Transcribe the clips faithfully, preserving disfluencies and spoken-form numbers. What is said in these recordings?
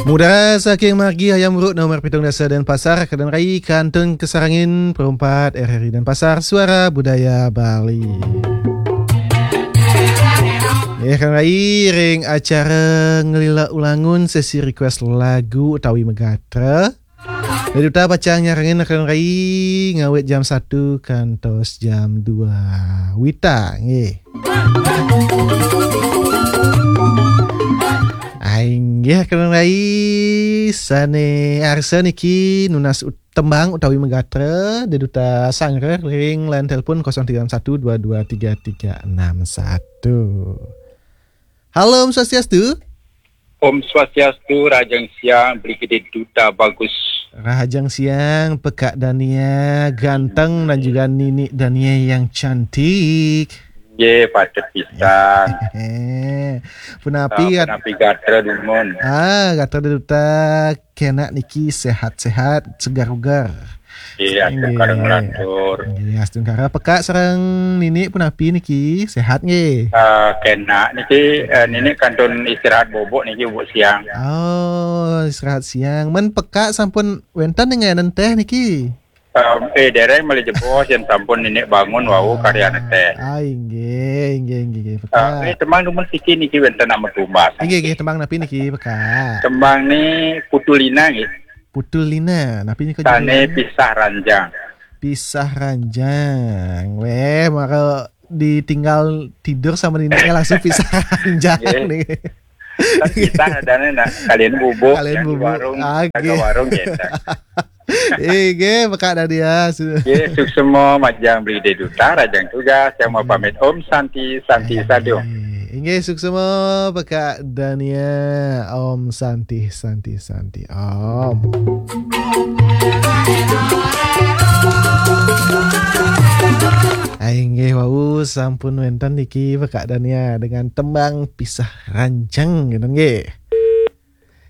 Mudara saking margi Hayam Wuruk nomor pitung dasa Denpasar, Kak Rai kantun kasarengin perumpat R R I Denpasar, Suara Budaya Bali. Ya, Kak Rai, ring acara Ngelila Ulangun, sesi request lagu utawi magatra. Duta pacang nyarengin Kak Rai ngawit jam satu kantos jam dua wita, nggih. Inggih, Kak Rai, sane arsa niki nunas ut-, tembang utawi magatra, Duta sanggra ring line telepon kosong tiga enam satu dua dua tiga tiga enam satu. Halo, Om Swastiastu. Om Swastiastu, Rahajeng Siang, Brigade Duta Bagus. Rahajeng Siang, Pekak Dania ganteng dan juga Nini Dania yang cantik. Ye, patut pisan. Punapi, ah, gat-, punapi gatra dumun? Ah, gatra Duta kena niki sehat-sehat, segar-ugar. Iya, inggih. Astungkara nglantur. Inggih, astungkara. Pekak sareng Nini punapi niki? Sehat nggih? Eh, kena niki, eh, Nini kantun istirahat bobok niki, bobok siang. Oh, istirahat siang. Men Pekak sampun wenten ngenengan teh niki? Em, eh, dereng malih jebos, yen sampun Nini bangun wau karyane teh. Ah, inggih, inggih, inggih, inggih, Pekak. Eh, eh, tembang dumun siki niki wenten amat tumbas. Inggih, inggih, tembang napi niki, Pekak? Tembang ni Putu Lina nggih. Putu Lina, napi nika judulnya? Sane Pisah Ranjang. Pisah Ranjang. Weh, maka ditinggal tidur sama nininya langsung pisah ranjang nih. Nggih. Kan pisah adane nak, kalian bubuk. Kalian yang di bubuk. Warung, ah, jaga nggih. Warung gitu. Inggih, Pekak Dania. Nggih, suksma majeng Brigade Duta, Rahajeng Tugas, yang mau pamit. Om Santi, Santi Sadhu. Inggih, suksma Pekak Dania. Om Santi, Santi, Santi. Om. Ah, inggih, wau sampun wenten niki Pekak Dania dengan tembang Pisah Ranjang, gitu nggih.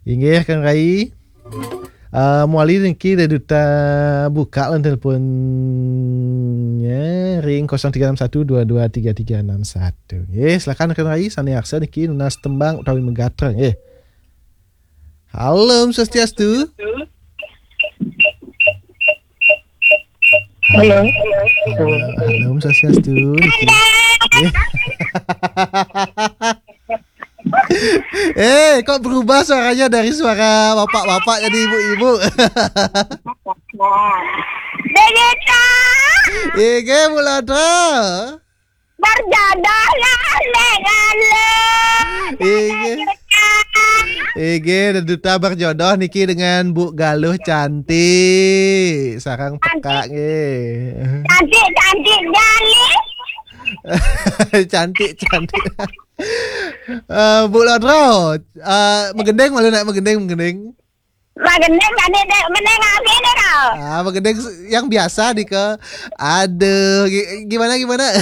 Inggih, Kak Rai. Eh, mawali niki Duta buka lan teleponnya ring kosong tiga enam satu dua dua tiga tiga enam satu. Nggih, silakan Kak Rai, sane arsa niki nunas tembang utawi magatra nggih. Halo, Om Swastiastu. Halo. Halo, Om Swastiastu. Niki. Eh. Eh, kok berubah suaranya dari suara bapak-bapak jadi ibu-ibu? Begitu. Inggih, Bu Lodra. Berjodoh lah, Bang Alun. Inggih. Inggih, Duta berjodoh niki dengan Bu Galuh cantik. Sareng Pekak nggih. Cantik, cantik, Galuh. Cantik, cantik. Eh, Bu Lodra, eh, magending malu nak magending, magending. Magending tadi dek, magending apa ini kau? Ah, magending yang biasa nika. Aduh, gi-, gimana, gimana?